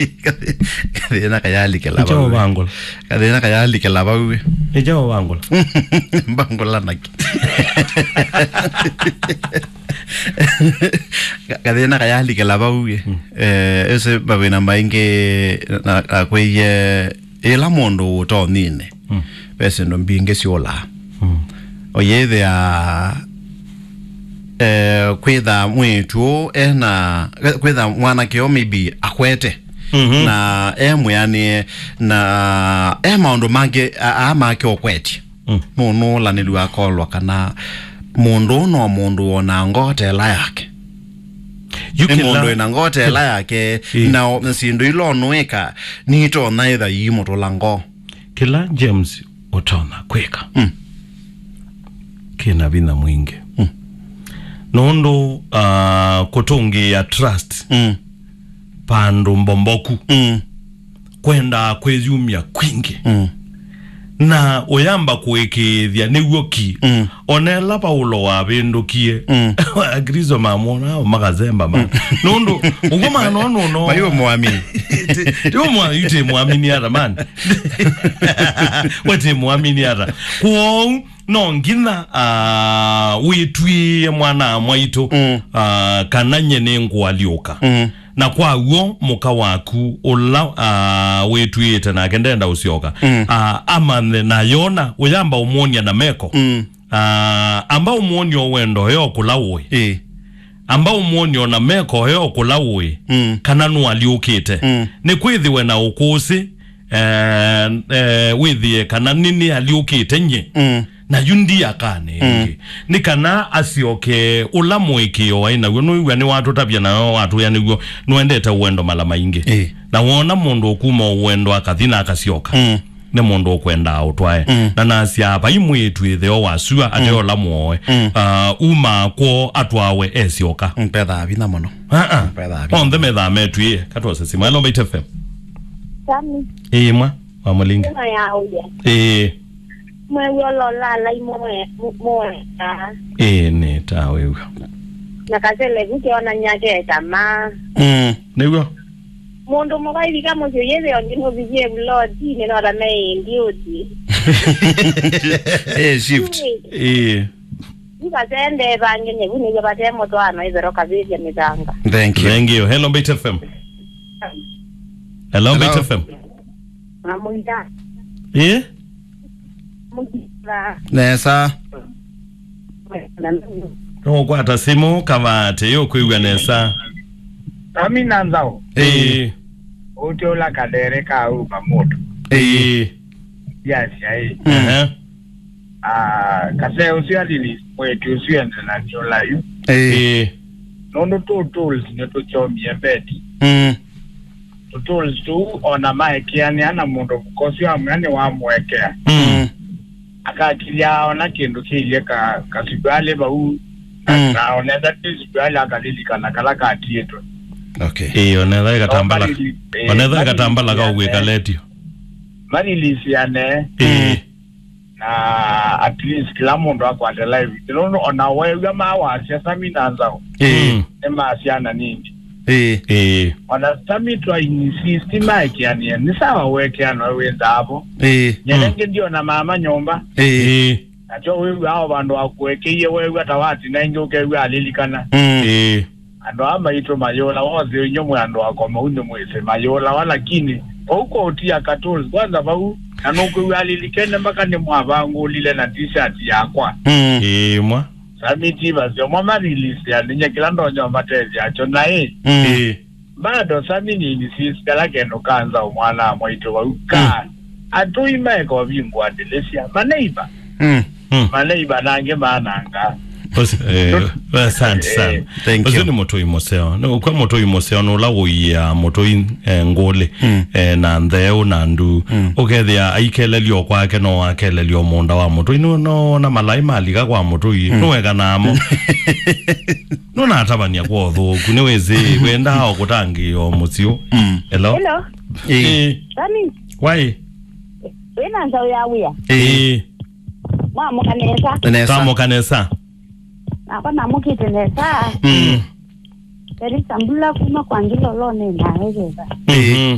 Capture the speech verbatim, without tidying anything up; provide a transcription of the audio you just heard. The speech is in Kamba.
Kathĩna kayalikĩla vau. Nĩkyaũ vangũla? Kathĩna kayalikĩla vau. Nĩkyaũ vangũla? Mbangũla naki. Ka- kathĩna kayalikĩla vau. Mm. Eh, ese mavĩna maingĩ na, na kwĩie ĩla mũndũ ũtonine. Mm. Ve syĩndũ mbingĩ syũlaa. Mm. Ũyĩthĩa eh, kwĩtha mwĩĩtu ũũ ena, kwĩtha mwanake ũũ maybe akwete, mhm, na e mwĩanĩe, na e maũndũ mangĩ a- aa make ũkwetye. Mm. Nũnũũlanĩlw'a akolwa kana mũndũ ũũ no mũndũ wona ngoo ta ĩla yake. Yu nĩ kĩla mũndũ wĩna ngoo ta ĩla yake, ĩ, na o- na syĩndũ ila ũnũĩka nitonya ĩtha iimũtũla ngoo. Kĩla James ũtonya kwĩka, mm, kĩna vinya mwingĩ. Mm. Nũndũ, ah, kũtũngĩĩa trust, mm, vandũ mbomboku, mm, kwendaa kwĩyumya kwingĩ. Mm. Na ũyamba kũĩkĩĩthya nĩw'o ki. Mm. Ona ĩla Vaulo wavĩndũkie, mm, Akristo mamwona makasemba, man. Mm. Nũndũ ũguo, man, no, no, no. Maiwe mwamini. Ti- ti ũmwa- yu ti mwamini ata, man. We ti mwamini ata. Kwoou no nginya, ah, wĩtw'ĩĩe mwana mwaitũ, mm, ah, kana nye nĩngũalyũka. Mm. Na kwa w'o mũka waku ũla, ah, wĩtw'ĩĩte nake ndenda ũsyoka. Mm. Ah, amanthe na yona ũyamba ũmwony'a na meko. Mm. Ah, amba ũmwony'e wendo yo kũla ũĩ. Ĩ. Amba ũmwony'e ona meko yo kũla ũĩ, mm, kana nũalyũkĩte. Mm. Nĩkwĩthĩwe na ũkũsĩ, eh, eh, wĩthĩe kana nĩnĩalyũkĩte nye. Mm. Na yu ndiakane, mm, ĩngĩ. Nĩ kana asyoke ũla mũĩkĩĩo waĩ naw'o. Nũĩw'a nĩwatũtavya nayo watwĩa nĩw'o nũendete ũendo mala maingĩ. Ĩ. Na wona mũndũ ũkuma ũendo akathi na akasyoka. Mm. Nĩ mũndũ ũkwendaa ũtwae. Mm. Na nasya, vai mwĩĩtu ĩtheo wa sua, mm, ateola mũoe. Mm. Ah, uma kwoo atwawe esyoka. Mm, pethaa vinya mũno. Ah, ah. Pethaa vinya. Onthe methaa metwĩe, katwose simu. Hello, Mbaitu F M. Sami. Ĩĩ, mwa, wa Mũlinga. Ĩno ya ũya. Ĩĩ. Mwew'a ũla ũlalai mũe-, mu-, mũeka. Ĩĩ, nĩ ta wĩw'a. Na kasele vu keonany'a ke tamaa. Mm. Nĩw'o. Mũndũ mũka ivika mũsyĩ yĩthĩa ũngĩ nũvikie vulotinĩ no ta meĩndi ũthi. Eh, shift. Ĩĩ. Yu vasende vange nyevu nĩw'o vate mũtwaano ĩthero kavĩvya mĩthanga. Thank you. Thank you. Hello, Mbaitu F M. Hello, hello. Mbaitu F M. Mamũita. Ĩĩ? Mũita. Nesa. Nũkwata simũ kavaa atĩ ũkwĩw'a nesa. Sami na Nzau. Ĩĩ. Ũtĩ ũla kadere ka uma mũndũ. Ĩĩ. Yasya ĩ. Ehe. Ah, kase ũsu alili mwĩĩtu ũsu ende na nyola yu. Ĩĩ. Ĩĩ. Nũndũ tũ tools nĩtũkyomie mbeti. Mm. Tũ tools tũu ona maekeanĩa na mũndũ mũka ũsu amwĩa nĩwamũekea. Mm. Akakilya ona kĩndũ kĩilye ka, kasumbĩ vau. Mm. Na onetha ti sumbĩ akalilikana kala katiĩtwe. Okay. Ĩĩ, onetha ĩkatambala. Ĩĩ, onetha ĩkatambala ka ũkwĩka letio. Malilisiane. Ĩĩ. Mm. Na at least kĩla mũndũ akwate live. Nũndũ ona weew'a mawasya Sami na Nzau. Ĩĩ. Mm. Nĩ ma syana nini. Ĩĩ. Ĩĩ. Ona Sami twa insist maekeanĩe. Nĩ sawa wekeana we wĩ nzaavo. Ĩĩ. Nyelenge ndiona mama nyũmba. Ĩĩ. Ĩĩ. Nakyo wĩw'aa o vandũ wakũekeie weew'a ta watina ĩngĩ ũkew'a alilikana. Mm. Ĩĩ. Andũ aa maitũ mayũla wose inyuĩ mwĩ andũ akoma unĩ mwĩsĩ mayũlawa lakini vau kwa ũtia katũli kwanza vau na nũkwĩw'a alilikene mpaka nĩmwavangũlile na t-shirt yakwa. Mm. Ĩĩ mwa. Sami ti vasyo mwa marilisi andinye kĩla ndonya ũmatethya kyo naĩ. Mm. Ĩĩ. Bado Sami nini sis kala kendo kanza mwana mwaitũ vau ka. Mm. Atũi maeka ũvingũa ndĩlĩsya maneiva. Mm. Mm. Maneiva nangĩ mananga. Os- eh, asante sana. Eh. Thank you. Ũsu nĩ mũtũi mũseo. Nĩ ũkw'a mũtũi mũseo nĩ ũla ũiaa mũtũi, eh, ngũlĩ, mm, eh, na ntheũ na ndu. Mm. Ũkethĩa aikelelyo kwake no akelelyo mũũnda wa mũtũi. Nĩ no na malai malika kwa mũtũi. Mm. Nũweka namo. Nũnatavany'a kwa ũthũku, nĩwĩsĩ, wendaa o kũtangĩĩa o mũsyĩ. Mm. Hello? Hello. Ĩĩ. Ĩĩ. Sami. Wai. Wĩna nzaũ ya wĩa? Ĩĩ. Mwamũka nesa? Nesa. Twamũka nesa. Nakwa namũkĩte nesa. Mm. Teresa Mbula kuma kwa Ngilolone na Eveva. Mhm.